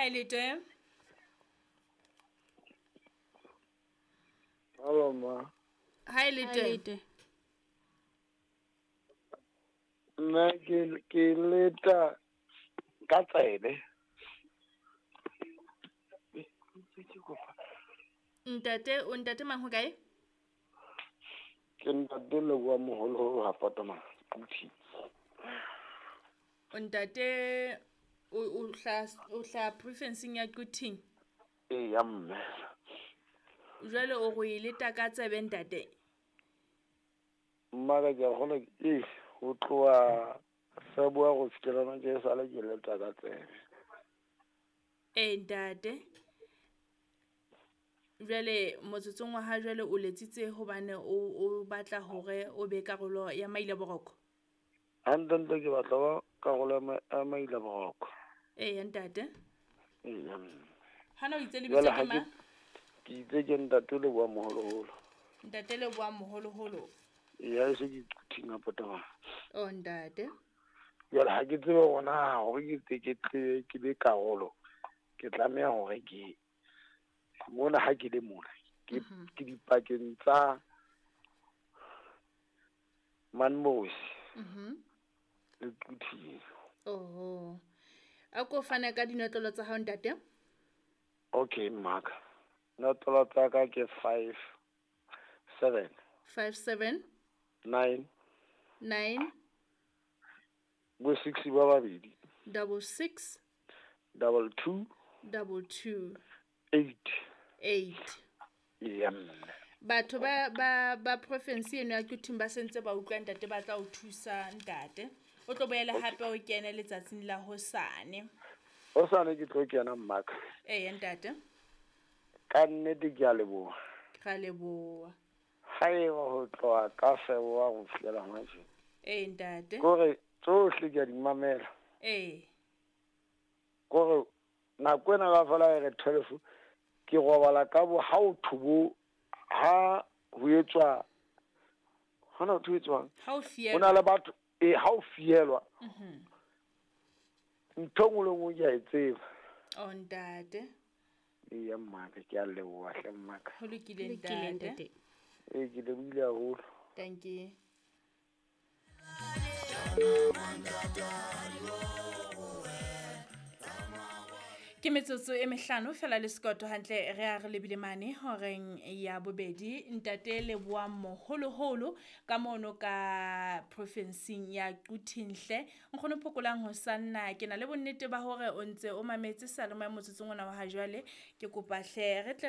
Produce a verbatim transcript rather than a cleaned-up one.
Hi Lete. Hello ma. Hi Lete. Lete. Nna ke ke leta ka tsebe. Ntate, o ntate mang ho kae? Ke ntate Leboa Moholoholo ha Fatoma Quthing. O ntate o o hla o hla profinsing ya Quthing. Eya mme. Jwale o go e leta ka tsebe ntate? Mmaka ke a kgolwa e ho tloha February go fihlela hona tje esale ke leta ka tsebe. Ee ntate. Jwale motsotsong wa ha jwale o letsitse hobane o o batla hore o be karolo ya Maila Boroko? Hantlentle ke batla ho ba karolo ya ma- ya Maila Boroko. Eya ntate. Eya mme. Hana o itse lebitso Jwale ke ha ke mang? ke itse ke ntate Leboa Moholoholo. Ntate Leboa Moholoholo. Eya e se ke Quthing ha Potoma. Oh ntate. Jwale ha ke tsebe hore na hore ke tle ke tle ke be karolo, ke tlameha hore ke mona ha ke le mona ke ke dipakeng tsa Manmosi Mhm. le Quthing. Oho. A ko fane ka dinotlolo tsa hao ntate? Okay mmaka. Notlolo tsa ka ke five seven Five seven nine nine bo six ba babedi double six double two double two eight. eight. Eya mme. Batho ba ba ba province eno ya Quthing ba sentse ba utlwa ntate, ba tla o thusa ntate. O tlo boela hape o kene letsatsing la hosane. Hosane ke tlo kena mmaka. Eya ntate. Ka nnete ke a leboha. Ra leboha. Haeba ho tloha ka February ho fihlela hona tje. Ee ntate. Kore tsohle ke a di mamela. Ee. Kore nako ena kaofela e re twelve ke robala ka bo ha o thobo ha ho etswa hona ho etswang. Ha o Ho na fielwa. le batho eh ha o fielwa. Mhm. Ntho e nngwe le nngwe ke a e tseba. Oh ntate. Eya mmaka ke a leboha hle mmaka. Ho lokile Lokile ntate. ntate. Ee ke lebohile haholo. Thank you. Ke metsotso e mehlano fela le sekoto hantle re a re lebile mane horeng ya bobedi. Ntate Leboa Moholoholo ka mono ka profinsing ya Quthing hle. Nkgono Phokolang ho sanna ke na le bonnete ba hore o ntse o mametse seyalemoya motsotsong ona wa ha jwale. Ke kopa hle re tle re